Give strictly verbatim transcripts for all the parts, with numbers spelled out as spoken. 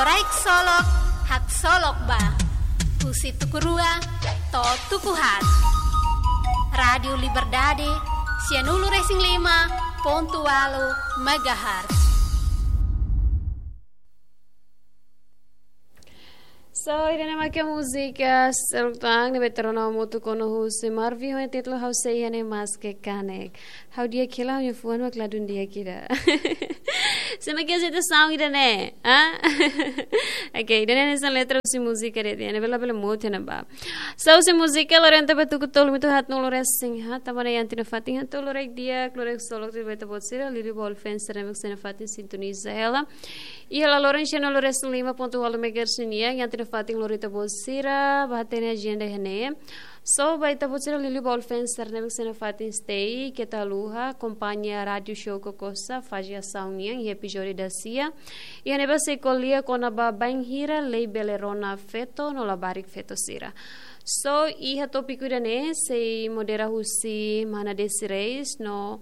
Loraik solok, haksolok ba. Husi tuku rua to'o tuku haat. Rádiu Liberdade, sianulu-resin-lima pontu ualu megahertz. So, ida-ne'e mak múzika seluk tan ne'ebé to'o ona hamutuk ho Marvin ho títulu Ha'u Sei Iha Ne'e Maske Kanek. Ha'u di'ak hela, ha'u-nia fuan mak ladún di'ak ida. Sé mak iha sente sound ida-ne'e, ah? Oke, ida-ne'e hanesan letra husi múzika de'it, ne'ebé labele mout iha ne'ebá. So, husi múzika lorenta ba tuku tolu minutu haat no loreng sin ha, tanba ne'e iha ita-nia fatin haat, loraik di'ak, loraik solok, ne'ebé ita-boot sira, liuliu ba fans sira ne'ebé iha fatin sintoniza hela. Iha laloran sianulu-resin-lima pontu ualu megahertz nian, iha ita-nia fatin lori ita-boot sira, bá hatene agenda iha ne'e. So, ba ita-boot sira liuliu ba fans sira ne'ebé iha fatin stay, keta haluha, akompaña Rádiu Show Kokosa, faze asaun nian, iha epizódiu dasia. Iha ne'ebá sei ko'alia kona-ba bainhira lei bele rona feto no labarik feto sira. So, iha tópiku ida-ne'e, sei modera husi mana Desi Reis, no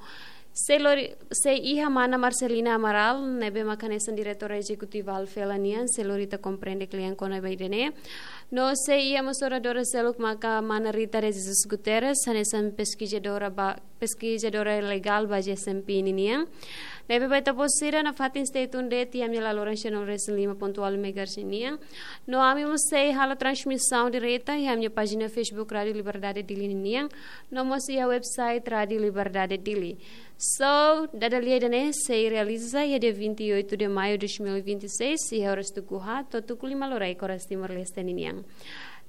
sei lori, sei iha mana Marcelina Amaral, ne'ebé mak hanesan diretora ezekutiva Alfela nian, sei lori ita komprende kle'an kona-ba ida-ne'e. No sei iha mós oradora seluk maka mana Rita de Jesus Guterres, hanesan peskizadora ba, peskizadora legál ba G S M P ninian. Ne'ebé ba ita-boot sira nafatin stay tuned de'it iha ami-nia laloran sianulu-resin-lima pontu ualu megahertz nian. No ami mós sei halo transmisaun direta iha ami-nia pájina Facebook Rádiu Liberdade Dili ninian. No mós iha website Rádiu Liberdade Dili. So, dada lia ida-ne'e sei realiza iha dia vinte e oito de maio de dois mil e vinte e seis, iha oras tuku haat to'o tuku lima loraik oras Timor-Leste ninian.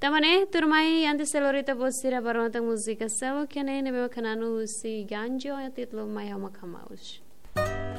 Tanba ne'e, tuirmai, antes sei lori ita-boot sira ba rona tan múzika seluk iha ne'e, ne'ebé mak hananu husi Ganjo, iha títulu Mai Ha'u Mak Hamaus.